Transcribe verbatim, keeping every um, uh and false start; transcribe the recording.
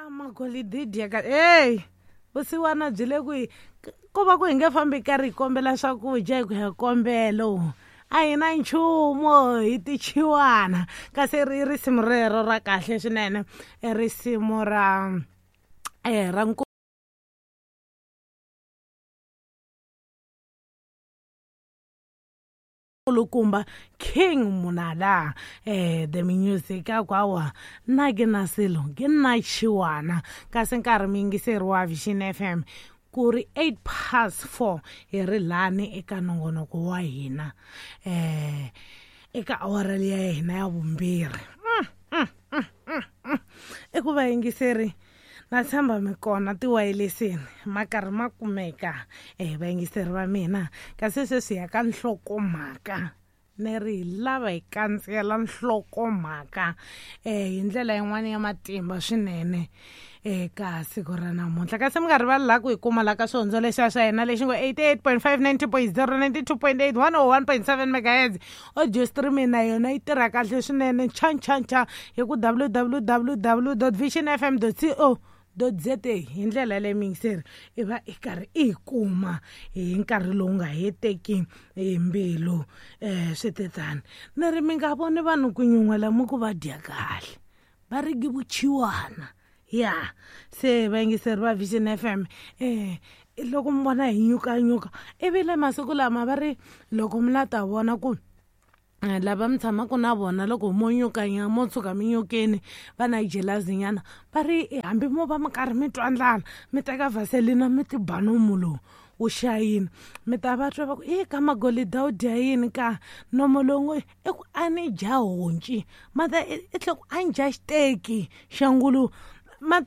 A magolidi dya ka ey vusiwana byi le kwihi? Ko va ku hi nge fambi karhi hi kombela swakudya hi ku ya kombelo a hi na nchumu hi tichiwana. Kasi ri risimu rero ra kahle swinene, i risimu ra eh ra nkulukumba King Munala eh the music akwawa na ke na selo ke nna chiwana. Kasi nkarhi muyingiseri wa Vision F M ku ri eight past four hi ri lani eka nongonoko wa hina eh eka awara liya ya hina ya vumbirhi. I ku vayingiseri na tshemba mi kona tiwayilesini ma karhi ma kumeka eh vayingiseri va mina. Kasi sweswi ya ka nhlokomhaka ni ri hi lava hi kandziyela nhlokomhaka eh hi ndlela yin'wana ya matimba swinene eka siku ra namuntlha. Kasi mi nga rivali laha ku hi kuma laha ka swihondzo lexiya swa hina lexi ngo eighty-eight point five, ninety point zero, ninety-two point eight, one oh one point seven megahertz. Audio streaming na yona yi tirha kahle swinene cha cha cha hi ku w w w w dot vision f m dot co dot z a. Hi ndlela leyi muyingiseri i va i karhi i yi kuma hi nkarhi lowu nga heteki hi mbilu. um swi tetani ni ri mi nga voni vanhu ku nyuhela mi ku va dya kahle va ri ki vuchiwana. Ya se vayingiseri va Vision F M eh loko mi vona hi nyukanyuka ivi le masiku lama va ri loko mi la ta vona ku lava mi tshamaka na vona loko mo nyukanya mo tshuka mi nyukeni va na jelazinyana va ri hambi mo va mi karhi mi twa ndlala mi teka vaselina mi ti ba nomu lowu wu xayini mi ta va twa va ku i ka magolida wu dya yini ka nomo lowu i ku a ni dya honci ma ta i tlhe ku a ni dya xiteki xa nguluve ma